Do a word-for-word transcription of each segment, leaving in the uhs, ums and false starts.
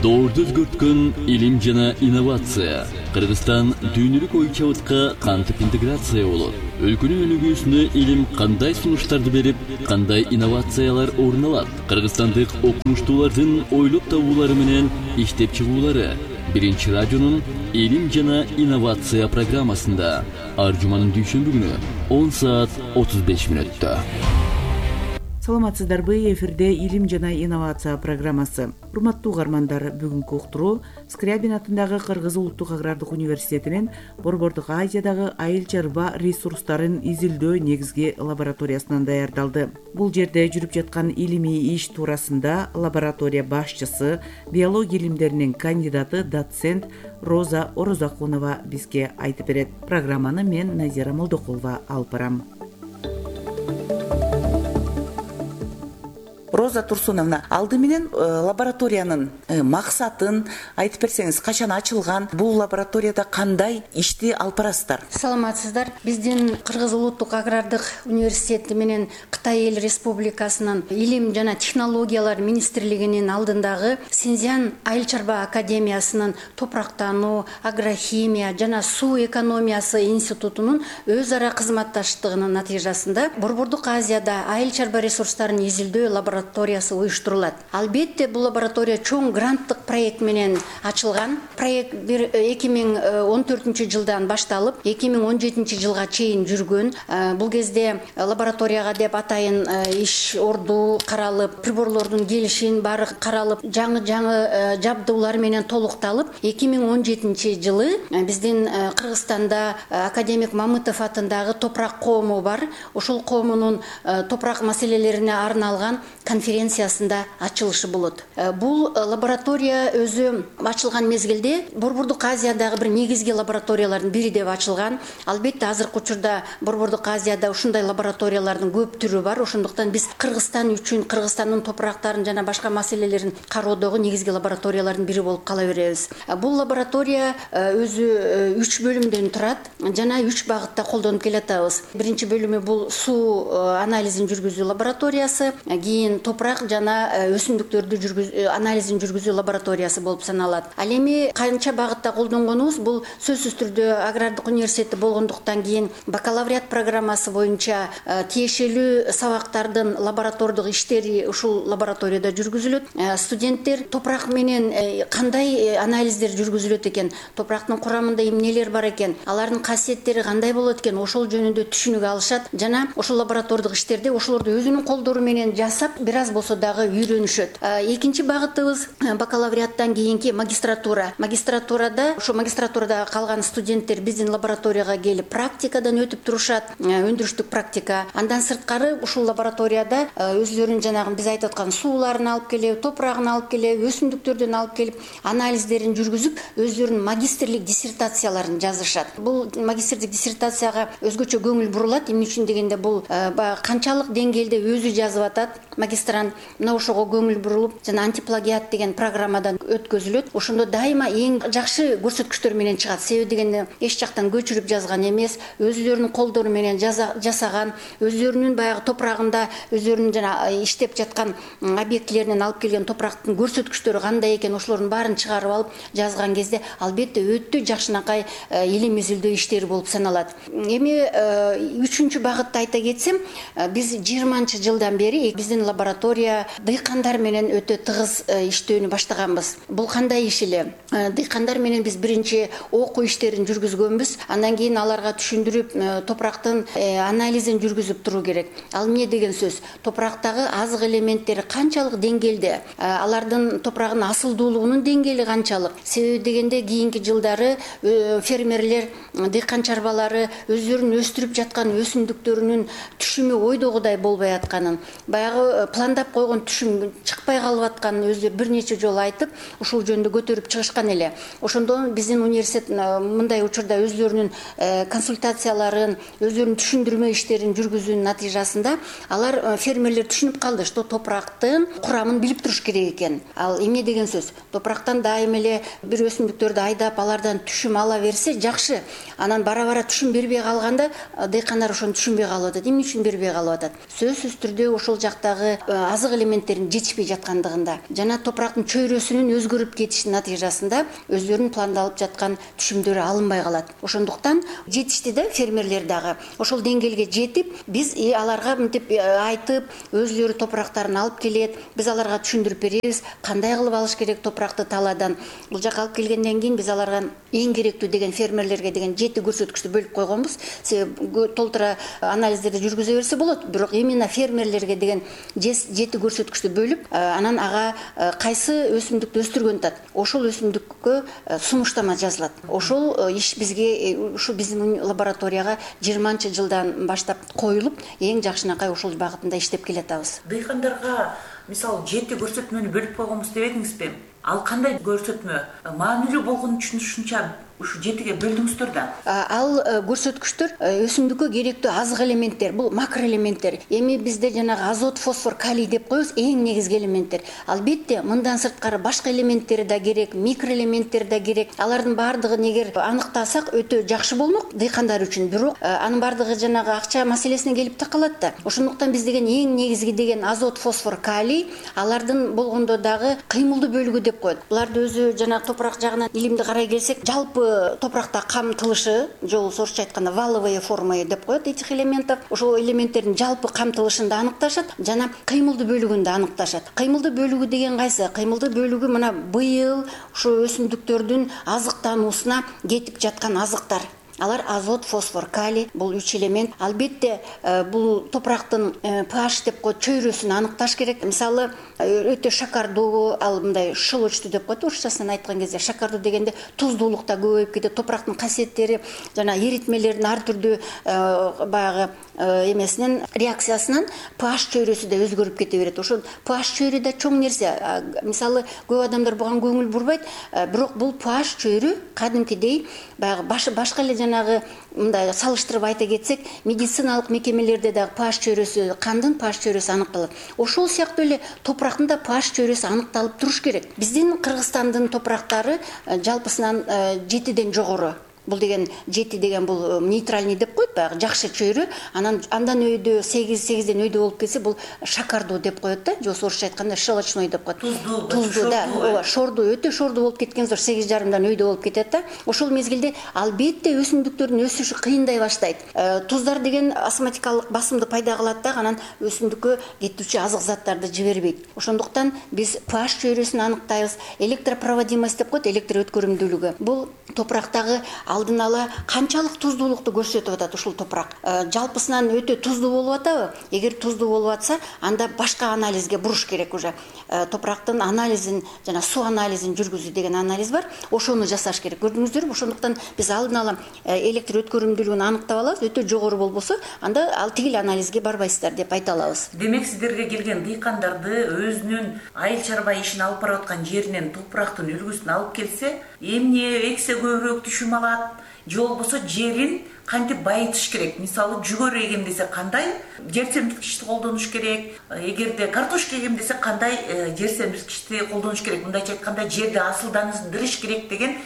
Доорду өзгөрткөн илим жана инновация. Кыргызстан дүйнөлүк ой чабытка кантип интеграция болот? Өлкөнүн өнүгүүсүнө илим кандай сунуштарды берип, кандай инновациялар орун алат? Кыргызстандык окумуштуулардын ойлоп табуулары менен иштеп чыгуулары Биринчи радионун илим жана инновация программасында ар жуманын дүйшөмбү күнү он саат отуз беш мүнөттө. Саламатсыздарбы, эфирде илим жана инновация программасы. Урматтуу угармандар, бүгүнкү уктуруу Скрябин атындагы Кыргыз улуттук агрардык университетинин Борбордук Азиядагы айыл чарба ресурстарын изилдөө негизги лабораториясынан даярдалды. Бул жерде жүрүп жаткан илимий иш туурасында лаборатория башчысы, биология илимдеринин кандидаты, доцент Роза Орозакунова бизге айтып берет. Программаны мен Назира Молдокулова алып барам. Роза Турсуновна, алды менен лабораториянын максатын айтып берсеңиз, качан ачылган, бул лабораторияда кандай ишти алып барасыздар? Саламатсыздар. Биздин Кыргыз улуттук агрардык университети менен Кытай Эл Республикасынын илим жана технологиялар министрлигинин алдындагы Синьцзян айыл чарба академиясынын топурактануу, агрохимия жана суу экономиясы институтунун өз ара кызматташтыгынын натыйжасында Борбордук Азияда айыл чарба ресурстарын изилдөө лабораториясы лабораториясы уюштурулат. Албетте, бул лаборатория чоң гранттык проект менен ачылган. Проект эки миң он төртүнчү жылдан башталып, эки миң он жетинчи жылга чейин жүргөн. Бул кезде лабораторияга деп атайын иш орду каралып, приборлордун келишин баары каралып, жаңы-жаңы жабдуулар менен толукталып, эки миң он жетинчи жылы биздин Кыргызстанда академик Мамытов атындагы топурак коому бар. Ошол коомунун топурак маселелерине арналган конференциясында ачылышы болот. Бул лаборатория өзү ачылган мезгилде Борбордук Азиядагы бир негизги лабораториялардын бири деп ачылган. Албетте, азыркы учурда Борбордук Азияда ушундай лабораториялардын көп түрү бар. Ошондуктан биз Кыргызстан үчүн, Кыргызстандын топурактарын жана башка маселелерин кароодогу негизги лабораториялардын бири болуп кала беребиз. Бул лаборатория өзү үч бөлүмдөн турат жана үч багытта колдонуп келатабыз. Биринчи бөлүмү бул суу анализин жүргүзүү лабораториясы, кийин топурак жана өсүмдүктөрдү жүргүзүү анализин жүргүзүү лабораториясы болуп саналат. Ал эми канча багытта колдонгонубуз, бул сөзсүз түрдө агрардык университети болгондуктан кийин бакалавриат программасы боюнча тиешелүү сабактардын лаборатордук иштери ушул лабораторияда жүргүзүлөт. Студенттер топурак менен кандай анализдер жүргүзүлөт экен, топурактын курамында эмнелер бар экен, алардын касиеттери кандай болот экен, ошол жөнүндө түшүнүк алышат жана ошол лаборатордук иштерде ошолорду өзүнүн колдору менен жасап, бир аз болсо дагы үйрөнүшөт. Экинчи багытыбыз бакалавриаттан кийинки магистратура. Магистратурада, ошо магистратурада калган студенттер биздин лабораторияга келип практикадан өтүп турушат, өндүрүштүк практика. Андан сырткары ушул лабораторияда өзлөрүнүн жанагы биз айтып аткан сууларын алып келип, топурагын алып келип, өсүмдүктөрдөн алып келип, анализдерин жүргүзүп, өзлөрүнүн магистрлик диссертацияларын жазышат. Бул магистрлик диссертацияга өзгөчө көңүл бурулат. Эмне үчүн дегенде, бул канчалык деңгээлде өзү жазып атат магистрант, мына ошого көңүл бурулуп, жана антиплагиат деген программадан өткөзүлөт. Ошондо дайыма эң жакшы көрсөткүчтөр менен чыгат. Себеби дегенде эч жактан көчүрүп жазган эмес, өзлөрүнүн колдору менен жасаган, өзлөрүнүн баягы топурагында өзлөрүнүн жана иштеп жаткан объектилеринен алып келген топурактын көрсөткүчтөрү кандай экен, ошолордун баарын чыгарып алып жазган кезде албетте өтө жакшынакай илим изилдөө иштери болуп саналат. Эми үчүнчү багытты айта кетсем, биз жыйырманчы жылдан бери биздин лаборатория дыйкандар менен өтө тыгыз иштөөнү баштаганбыз. Бул кандай иш эле? Дыйкандар менен биз биринчи окуу иштерин жүргүзгөнбүз. Андан кийин аларга түшүндүрүп, топурактын анализин жүргүзүп туруу керек. Ал эмне деген сөз? Топурактагы азык элементтери канчалык деңгээлде, алардын топурагынын асылдуулугунун деңгээли канчалык? Себеби дегенде кийинки жылдары фермерлер, дыйкан чарбалары өздөрүнүн өстүрүп жаткан өсүмдүктөрүнүн түшүмү ойдогудай болбой атканын, баягы пландап койгон түшүм чыкпай калып атканын өзү бир нече жолу айтып, ушул жөнүндө көтөрүп чыгышкан эле. Ошондон биздин университет мындай учурда өзлөрүнүн консультацияларын, өзлөрүнүн түшүндүрмө иштерин жүргүзүүнүн натыйжасында алар фермерлер түшүнүп калды, что топурактын курамын билип туруш керек экен. Ал эмне деген сөз? Топурактан дайыма эле бир өсүмдүктөрдү айдап, алардан түшүм ала берсе жакшы. Анан бара-бара түшүм бербей калганда дыйкандар ошону түшүнбөй калып атат. Эмне үчүн бербей калып атат? Сөзсүз түрдө ошол жактагы азык элементтерин жетишпей жаткандыгында жана топурактын чөйрөсүнүн өзгөрүп кетишинин натыйжасында өздөрүнүн пландалып жаткан түшүмдөрү алынбай калат. Ошондуктан жетишти да фермерлер дагы ошол деңгээлге жетип, биз аларга мынтип айтып, өзлөрү топурактарын алып келет, биз аларга түшүндүрүп беребиз, кандай кылып алыш керек топуракты талаадан. Бул жака алып келгенден кийин биз аларга эң керектүү деген фермерлерге деген жети көрсөткүчтү бөлүп койгонбуз. Себеби толтура анализдерди жүргүзө берсе болот, бирок именно фермерлерге деген жети көрсөткүчтү бөлүп, анан ага кайсы өсүмдүктү өстүргөнү атат, ошол өсүмдүккө сунуштама жазылат. Ошол иш бизге, ушу биздин лабораторияга жыйырманчы жылдан баштап коюлуп, эң жакшынакай ошол багытында иштеп келатабыз. Дыйкандарга мисалы жети көрсөтмөнү бөлүп койгонбуз дебедиңизби? Ал кандай көрсөтмө? Маанилүү болгонун түшүнүшүнчө ушу жетиге бөлдүңүздөр да. Ал көрсөткүчтөр өсүмдүккө керектүү азык элементтер, бул макроэлементтер. Эми бизде жанагы азот, фосфор, калий деп коебуз, эң негизги элементтер. Албетте, мындан сырткары башка элементтер да керек, микроэлементтер да керек. Алардын баардыгын эгер аныктасак өтө жакшы болмок дыйкандар үчүн. Бирок анын баардыгы жанагы акча маселесине келип такалат да. Ошондуктан биз деген эң негизги деген азот, фосфор, калий, алардын болгондо дагы кыймылдуу бөлүгү деп коет. Буларды өзү жанагы топурак жагынан илимди карай келсек, жалпы топуракта камтылышы, же болбосо орусча айтканда валовые формы деп коет этих элементов. Ошол элементтердин жалпы камтылышын да аныкташат, жана кыймылдуу бөлүгүн да аныкташат. Кыймылдуу бөлүгү деген кайсы? Кыймылдуу бөлүгү мына быйыл ушу өсүмдүктөрдүн азыктануусуна кетип жаткан азыктар. Алар азот, фосфор, калий, бул үч элемент. Албетте, бул топурактын pH деп коет, чөйрөсүн аныкташ керек. Мисалы, өтө шакардуу, ал мындай шылочтуу деп коет, орусчасын айткан кезде. Шакардуу дегенде туздуулукта көбөйүп кетет, топурактын касиеттери жана эритмелердин ар түрдүү баягы эмесинен, реакциясынан pH чөйрөсү да өзгөрүп кете берет. Ошол pH чөйрө да чоң нерсе. Мисалы, көп адамдар буга көңүл бурбайт, бирок бул pH чөйрө кадимкидей баягы башка эле жанагы мындай салыштырып айта кетсек, медициналык мекемелерде дагы pH чөйрөсү, кандын pH чөйрөсү аныкталат. Ошол сыяктуу эле топурактын да pH чөйрөсү аныкталып туруш керек. Биздин Кыргызстандын топурактары жалпысынан жетиден жогору. Бул деген жети деген бул нейтральный деп коет, баягы жакшы чөйрө. Анан андан өйдө сегиз, сегизден өйдө болуп кетсе, бул шакардуу деп коет да, же болбосо орусча айтканда щелочной деп коет. Туздуу, туздуу да, ооба, шордуу, өтө шордуу болуп кеткен зор сегиз жарымдан өйдө болуп кетет да. Ошол мезгилде албетте өсүмдүктөрдүн өсүшү кыйындай баштайт. Туздар деген осмотикалык басымды пайда кылат да, анан өсүмдүккө кетүүчү азык заттарды жибербейт. Ошондуктан биз pH чөйрөсүн аныктайбыз. Электропроводимость деп коет, электр өткөрүмдүүлүгү. Бул топурактагы алдын ала канчалык туздуулукту көрсөтүп атат ушул топурак. Жалпысынан өтө туздуу болуп атабы? Эгер туздуу болуп атса, анда башка анализге буруш керек уже. Топурактын анализин жана суу анализин жүргүзүү деген анализ бар. Ошону жасаш керек. Көрдүңүздөрбү? Ошондуктан биз алдын ала электр өткөрүмдүүлүгүн аныктап алабыз. Өтө жогору болбосо, анда ал тигил анализге барбайсыздар деп айта алабыз. Демек, сиздерге келген дыйкандарды өзүнүн айыл чарба ишин алып барып аткан жеринен топурактын үлгүсүн алып келсе, эмне эксе көбүрөөк түшүм алат, же болбосо жерин кантип байытыш керек? Мисалы, жүгөр эгем десе кандай жер семирткичти колдонуш керек? Эгерде картошка эгем десе кандай жер семирткичти колдонуш керек? Мындайча айтканда, жерди асылдандырыш керек деген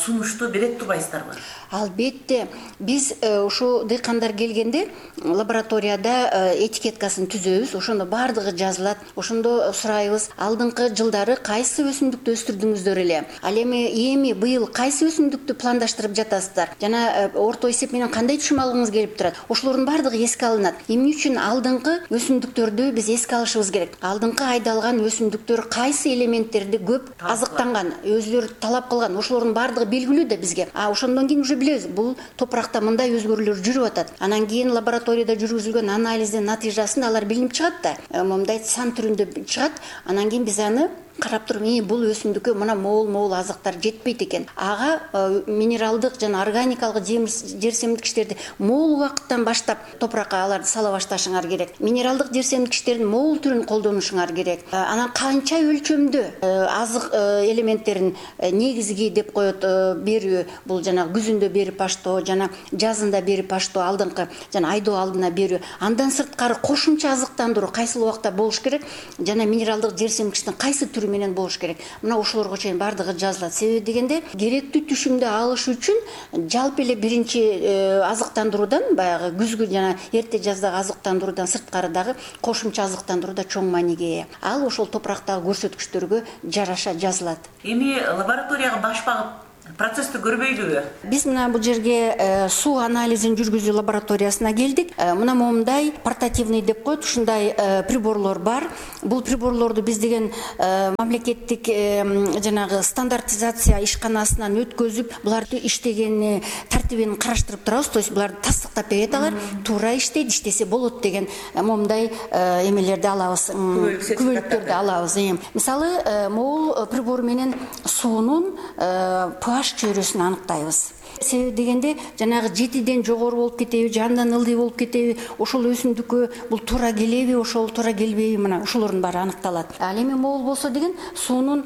сунушту берет турбайсыздарбы? Албетте, биз ушу дыйкандар келгенде лабораторияда этикеткасын түзөбүз. Ошондо баардыгы жазылат. Ошондо сурайбыз, алдыңкы жылдары кайсы өсүмдүктү өстүрдүңүздөр эле? Ал эми эми быйыл кайсы өсүмдүктү пландаштырып жатасыздар? Жана орто эсеп менен кандай түшүм алгыңыз келип турат? Ошолордун баардыгы эске алынат. Эмне үчүн алдыңкы өсүмдүктөрдү биз эске алышыбыз керек? Алдыңкы айдалган өсүмдүктөр кайсы элементтерди көп азыктанган, өзүлөрү талап кылган, ошолордун баардыгы белгилүү да бизге. А ошондон кийин уже билебиз, бул топуракта мындай өзгөрүүлөр жүрүп атат. Анан кийин лабораторияда жүргүзүлгөн анализдин натыйжасында алар билинип чыгат да. Мындай сан түрүндө чыгат. Анан кийин биз аны карап туруп, "Мен бул өсүмдүккө мына могул-могул азыктар жетпейт экен." Ага минералдык жана органикалык жер семирткичтерди могул убакыттан баштап топуракка аларды сала башташыңар керек. Минералдык жер семирткичтердин могул түрүн колдонушуңар керек. Анан канча өлчөмдө азык элементтерин негизги деп коет берүү, бул жана күзүндө берип баштоо, жана жазында берип баштоо, алдыңкы жана айдоо алдына берүү. Андан сырткары кошумча азыктандыруу кайсыл убакта болуш керек, жана минералдык жер семирткичтин кайсы түрү түшүрүү менен болуш керек. Мына ошолорго чейин баардыгы жазылат. Себеби дегенде керектүү түшүмдү алыш үчүн жалпы эле биринчи азыктандыруудан, баягы күзгү жана эрте жаздагы азыктандыруудан сырткары дагы кошумча азыктандыруу да чоң мааниге ээ. Ал ошол топурактагы көрсөткүчтөргө жараша жазылат. Эми лабораторияга баш багып процессти көрбөйлүбү? Биз мына бул жерге суу анализин жүргүзүү лабораториясына келдик. Мына момундай портативный деп коет, ушундай приборлор бар. Бул приборлорду биз деген мамлекеттик жанагы стандартизация ишканасынан өткөзүп, буларды иштегени тартибин караштырып турабыз. То есть буларды тастыктап берет, алар туура иштейт, иштесе болот деген момундай эмелерди алабыз, күбөлүктөрдү алабыз. Мисалы, могул прибор менен суунун pH чөйрөсүн аныктайбыз. Себеби дегенде жанагы жетиден жогору болуп кетеби, жандан ылдый болуп кетеби, ошол өсүмдүккө бул туура келеби, ошол туура келбейби, мына ошолордун баары аныкталат. Ал эми могул болсо деген суунун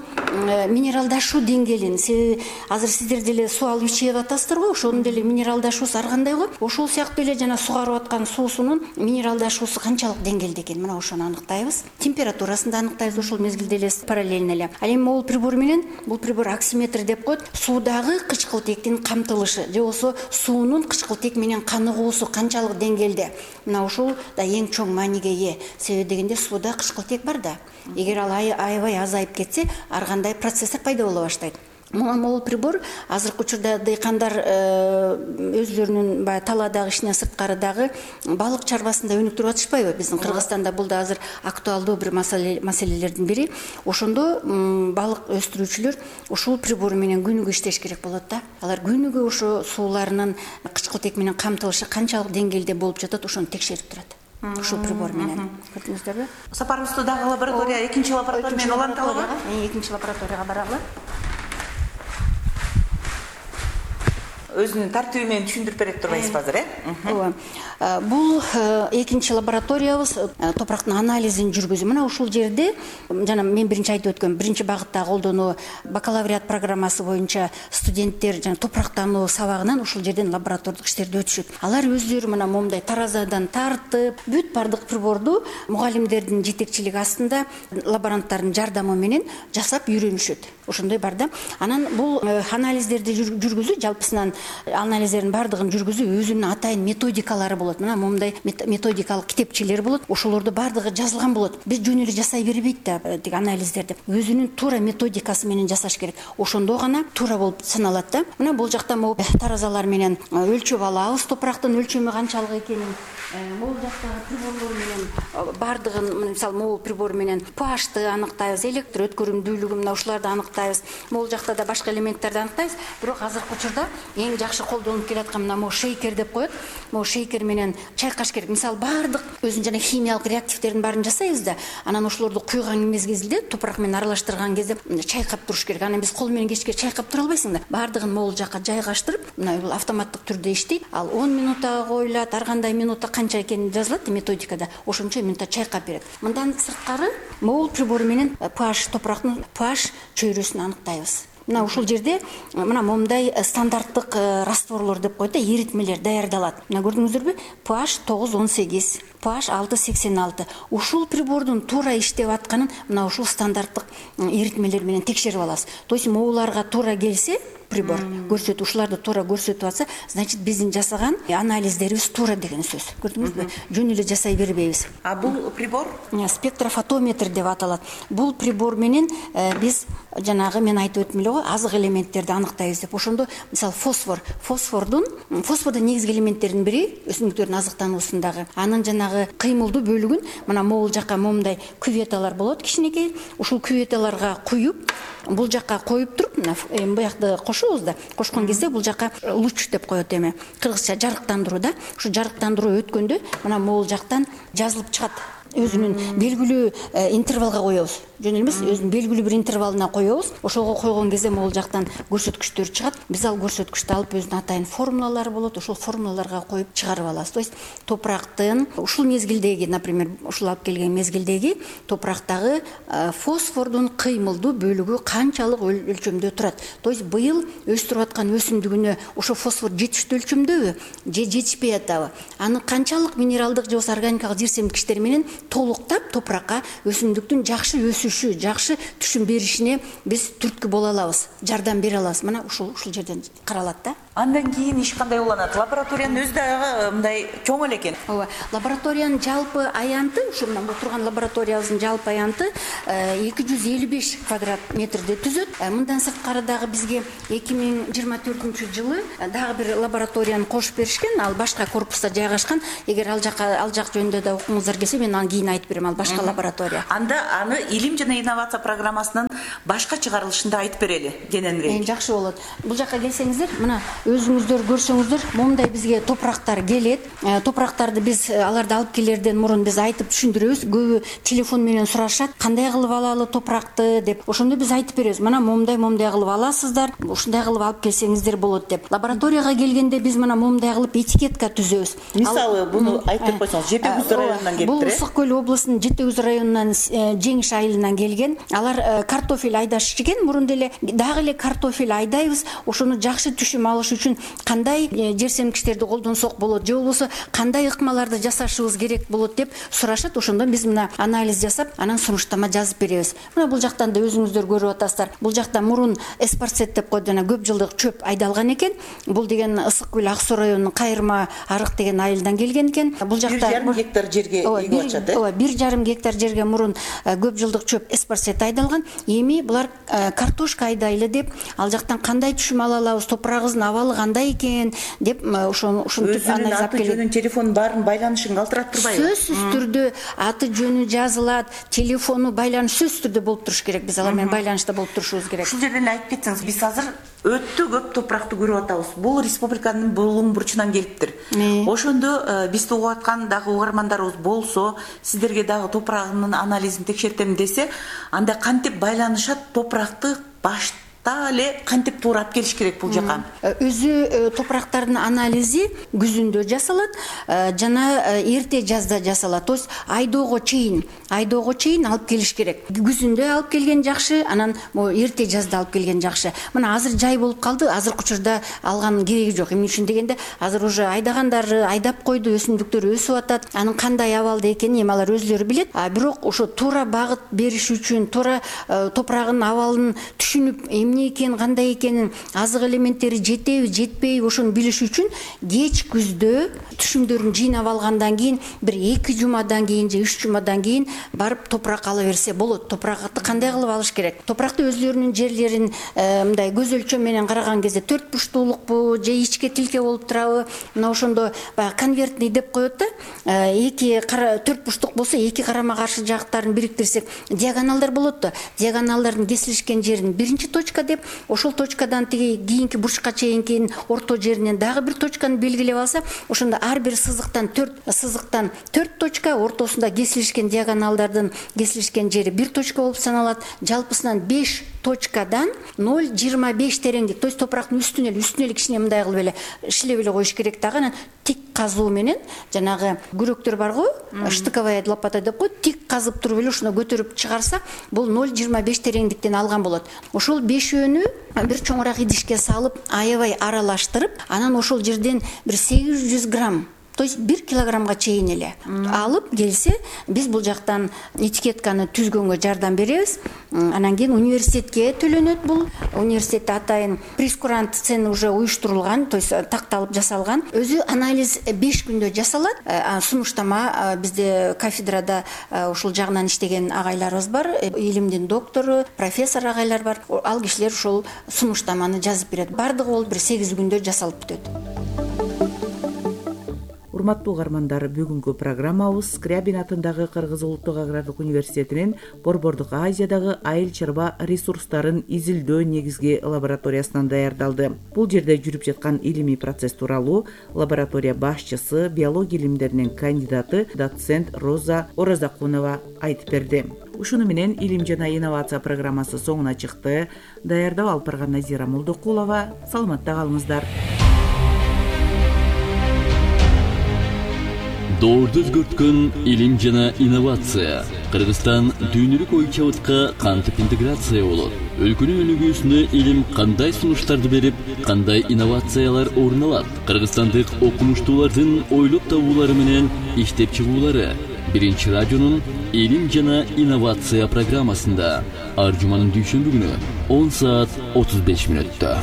минералдашуу деңгээлин, себеби азыр сиздер деле суу алып ичип атасыздар го, ошонун деле минералдашуусу ар кандай го. Ошол сыяктуу эле жана сугарып аткан суусунун минералдашуусу канчалык деңгээлде экен, мына ошону аныктайбыз. Температурасын да аныктайбыз ошол мезгилде эле параллельно эле. Ал эми могул прибор менен, бул прибор оксиметр деп коет, суудагы кычкылтектин камтылышы же болбосо суунун кычкылтек менен каныгуусу канчалык деңгээлде. Мына ушул да эң чоң мааниге ээ. Себеби дегенде сууда кычкылтек бар да. Эгер ал аябай азайып кетсе, ар кандай процесстер пайда боло баштайт. Могул прибор азыркы учурда дыйкандар өзлөрүнүн баягы талаадагы ишинен сырткары дагы балык чарбасында өнүктүрүп атышпайбы? Биздин Кыргызстанда бул да азыр актуалдуу бир маселелердин бири. Ошондо балык өстүрүүчүлөр ушул прибор менен күнүгө иштеш керек болот да. Алар күнүгө ошо сууларынын кычкылтек менен камтылышы канчалык деңгээлде болуп жатат, ошону текшерип турат. Ушул прибор менен. Көрдүңүздөрбү? Сапарыбызды дагы лаборатория, экинчи лаборатория менен уланталыбы? Экинчи лабораторияга баралы. Өзүнүн тартиби менен түшүндүрүп берет турбайсызбы азыр, э? Ооба. Бул экинчи лабораториябыз топурактын анализин жүргүзүү. Мына ушул жерде жана мен биринчи айтып өткөм, биринчи багытта колдонуу бакалавриат программасы боюнча студенттер жана топурактануу сабагынан ушул жерден лаборатордук иштерди өтүшөт. Алар өздөрү мына момундай таразадан тартып, бүт бардык приборду мугалимдердин жетекчилиги астында лаборанттардын жардамы менен жасап үйрөнүшөт. Ошондой бар да. Анан бул анализдерди жүргүзүү, жалпысынан анализдердин бардыгын жүргүзүү өзүнүн атайын методикалары болот. Мына момундай методикалык китепчелер болот. Ошолордо бардыгы жазылган болот. Биз жөн эле жасай бербейт да тиги анализдерди. Өзүнүн туура методикасы менен жасаш керек. Ошондо гана туура болуп саналат да. Мына бул жакта могу таразалар менен өлчөп алабыз топурактын өлчөмү канчалык экенин. Могул жактагы приборлор менен бардыгын, мисалы могул прибор менен pH'ты аныктайбыз, электр өткөрүмдүүлүгүн, мына ушуларды аныктайбыз. Могул жакта да башка элементтерди аныктайбыз. Бирок азыркы учурда эң жакшы колдонуп келаткан мына могу шейкер деп коет. Могу шейкер менен чайкаш керек. Мисалы бардык өзүнүн жана химиялык реактивдердин баарын жасайбыз да, анан ошолорду куйган мезгилде топурак менен аралаштырган кезде чайкап туруш керек. Анан биз кол менен кечке чайкап тура албайсың да. Бардыгын могул жакка жайгаштырып, мына бул автоматтык түрдө иштейт. Ал он минутага коюлат, ар кандай минутта канча экени жазылат методикада. Ошончо минутта чайкап берет. Мындан сырткары могул прибор менен pH топурактын pH чөйрөсүн аныктайбыз. Мына ушул жерде мына момундай стандарттык растворлор деп коет да, эритмелер даярдалат. Мына көрдүңүздөрбү? pH тогуз он сегиз, pH алты сексен алты. Ушул прибордун туура иштеп атканын мына ушул стандарттык эритмелер менен текшерип алабыз. То есть могуларга туура келсе, прибор көрсөтүп, ушуларды туура көрсөтүп атса, значит биздин жасаган анализдерибиз туура деген сөз. Көрдүңүзбү? Жөн эле жасай бербейбиз. А бул прибор спектрофотометр деп аталат. Бул прибор менен биз жанагы мен айтып өттүм эле го, азык элементтерди аныктайбыз деп. Ошондо мисалы фосфор, фосфордун фосфордун негизги элементтеринин бири өсүмдүктөрдүн азыктануусундагы. Анын жанагы кыймылдуу бөлүгүн мына могул жакка момундай küvetалар болот кичинекей. Ушул küветаларга куюп, бул жакка коюп туруп, мына буякты кошобуз да. Кошкон кезде бул жакка луч деп коет эми. Кыргызча жарыктандыруу да. Ушу жарыктандыруу өткөндө мына могул жактан жазылып чыгат. Өзүнүн белгилүү интервалга коебуз. Жөн эле эмес, өзүнүн белгилүү бир интервалына коебуз. Ошого койгон кезде могул жактан көрсөткүчтөр чыгат. Биз ал көрсөткүчтү алып өзүнүн атайын формулалары болот. Ошол формулаларга коюп чыгарып алабыз. То есть топурактын ушул мезгилдеги, например, ушул алып келген мезгилдеги топурактагы фосфордун кыймылдуу бөлүгү канчалык өлчөмдө турат. То есть быйыл өстүрүп аткан өсүмдүгүнө ошо фосфор жетиштүү өлчөмдөбү же жетишпей атабы? Аны канчалык минералдык же болбосо органикалык жер семирткичтер менен толуктап топуракка өсүмдүктүн жакшы өсүшү, жакшы түшүм беришине биз түрткү боло алабыз, жардам бере алабыз. Мына ушул ушул жерден каралат да. Андан кийин иш кандай уланат? Лабораториянын өзү дагы мындай чоң эле экен. Ооба, лабораториянын жалпы аянты, ушу мына бул турган лабораториябыздын жалпы аянты эки жүз элүү беш квадрат метрди түзөт. Мындан сырткары дагы бизге эки миң жыйырма төртүнчү жылы дагы бир лабораторияны кошуп беришкен. Ал башка корпуста жайгашкан. Эгер ал жакка ал жак жөнүндө да окуңуздар келсе, мен анан кийин айтып берем. Ал башка лаборатория. Анда аны илим жана инновация программасынын башка чыгарылышында айтып берели кененирээк. Жакшы болот. Бул жакка келсеңиздер, мына өзүңүздөр көрсөңүздөр, момундай бизге топурактар келет. Топурактарды биз аларды алып келерден мурун биз айтып түшүндүрөбүз. Көбү телефон менен сурашат, кандай кылып алалы топуракты деп. Ошондо биз айтып беребиз. Мына момундай момундай кылып аласыздар, ушундай кылып алып келсеңиздер болот деп. Лабораторияга келгенде биз мына момундай кылып этикетка түзөбүз. Мисалы, буну айтып койсоңуз, Жети Күз районунан келиптир. Бул Ысык көл облусунун Жети Күз районунан Жеңиш айылынан келген. Алар картофель айдашчы экен. Мурун деле дагы эле картофель айдайбыз. Ошону жакшы түшүм алыш үчүн кандай жер семкичтерди колдонсок болот, же болбосо кандай ыкмаларды жасашыбыз керек болот деп сурашат. Ошондо биз мына анализ жасап, анан сунуштама жазып беребиз. Мына бул жактан да өзүңүздөр көрүп атасыздар. Бул жакта мурун эспарцет деп коет, жана көп жылдык чөп айдалган экен. Бул деген Ысык көл Ак Суу районунун Кайырма арык деген айылдан келген экен. Бул жакта бир жарым гектар жерге эгип атышат, э? Ооба, бир жарым гектар жерге мурун көп жылдык чөп эспарцет айдалган. Эми булар картошка айдайлы деп, ал жактан кандай түшүм ала алабыз, топурагыбыздын абалы кандай экен деп ошону ушинтип анализ алып келет. Өзүнүн телефон баарын байланышын калтырат турбайбы? Сөзсүз түрдө аты жөнү жазылат, телефону байланыш сөзсүз түрдө болуп туруш керек. Биз алар менен байланышта болуп турушубуз керек. Ушул жерден айтып кетсеңиз, биз азыр өтө көп топуракты көрүп атабыз. Бул республиканын булуң бурчунан келиптир. Ошондо бизди угуп аткан дагы угармандарыбыз болсо, сиздерге дагы топурагынын анализин текшертем десе, анда кантип байланышат, топуракты баш эле кантип туурап келиш керек бул жака? Өзү топурактардын анализи күзүндө жасалат, жана эрте жазда жасалат. То есть айдоого чейин, айдоого чейин алып келиш керек. Күзүндө алып келген жакшы, анан эрте жазда алып келген жакшы. Мына азыр жай болуп калды, азыркы учурда алганын кереги жок. Эмне үчүн дегенде, азыр уже айдагандар айдап койду, өсүмдүктөр өсүп атат. Анын кандай абалда экенин эми алар өзүлөрү билет. А бирок ошо туура багыт бериш үчүн, туура топурагынын абалын түшүнүп, эмне экен, кандай экенин, азык элементтери жетеби, жетпейби, ошону билиш үчүн кеч күздө түшүмдөрүн жыйнап алгандан кийин бир эки жумадан кийин же үч жумадан кийин барып топурак ала берсе болот. Топуракты кандай кылып алыш керек? Топуракты өзүлөрүнүн жерлерин мындай көз өлчөм менен караган кезде төрт бурчтуулукпу же ичке тилке болуп турабы? Мына ошондо баягы конвертный деп коет да. Эки төрт бурчтук болсо, эки карама каршы жактарын бириктирсек, диагоналдар болот да. Диагоналдардын кесилишкен жерин биринчи точка деп, ошол точкадан тиги кийинки бурчка чейинки орто жеринен дагы бир точканы белгилеп алса, ошондо ар бир сызыктан төрт сызыктан төрт точка, ортосунда кесилишкен диагоналдардын кесилишкен жери бир точка болуп саналат. Жалпысынан беш точкадан ноль жыйырма беш тереңдик. То есть топурактын үстүнө эле үстүнө эле кичине мындай кылып эле иштеп эле коюш керек дагы. Анан тик казуу менен жанагы күрөктөр бар го, штыковая лопата деп коет, тик казып туруп эле ушуну көтөрүп чыгарса, бул ноль жыйырма беш тереңдиктен алган болот. Ошол бешөөнү бир чоңураак идишке салып, аябай аралаштырып, анан ошол жерден бир сегиз жүз грамм, то есть бир килограммга чейин эле алып келсе, биз бул жактан этикетканы түзгөнгө жардам беребиз. Анан кийин университетке төлөнөт бул. Университетте атайын прескурант цены уже уюштурулган, то есть такталып жасалган. Өзү анализ беш күндө жасалат. Сунуштама бизде кафедрада ушул жагынан иштеген агайларыбыз бар, илимдин доктору, профессор агайлар бар. Ал кишилер ушул сунуштаманы жазып берет. Бардыгы болуп бир сегиз күндө жасалып бүтөт. Урматтуу угармандар, бүгүнкү программабыз Скрябин атындагы Кыргыз Улуттук агрардык университетинин Борбордук Азиядагы айыл чарба ресурстарын изилдөө негизги лабораториясынан даярдалды. Бул жерде жүрүп жаткан илимий процесс тууралуу лаборатория башчысы, биология илимдеринин кандидаты доцент Роза Оразакунова айтып берди. Ушуну менен илим жана инновация программасы соңуна чыкты. Даярдап алып барган Назира Молдокулова. Саламатта калыңыздар. Доорду өзгөрткөн илим жана инновация. Кыргызстан дүйнөлүк ой чабытка кантип интеграция болот? Өлкөнүн өнүгүүсүнө илим кандай сунуштарды берип, кандай инновациялар орун алат? Кыргызстандык окумуштуулардын ойлоп табуулары менен иштеп чыгуулары Биринчи радионун Илим жана инновация программасында ар жуманын дүйшөмбү күнү он саат отуз беш мүнөттө.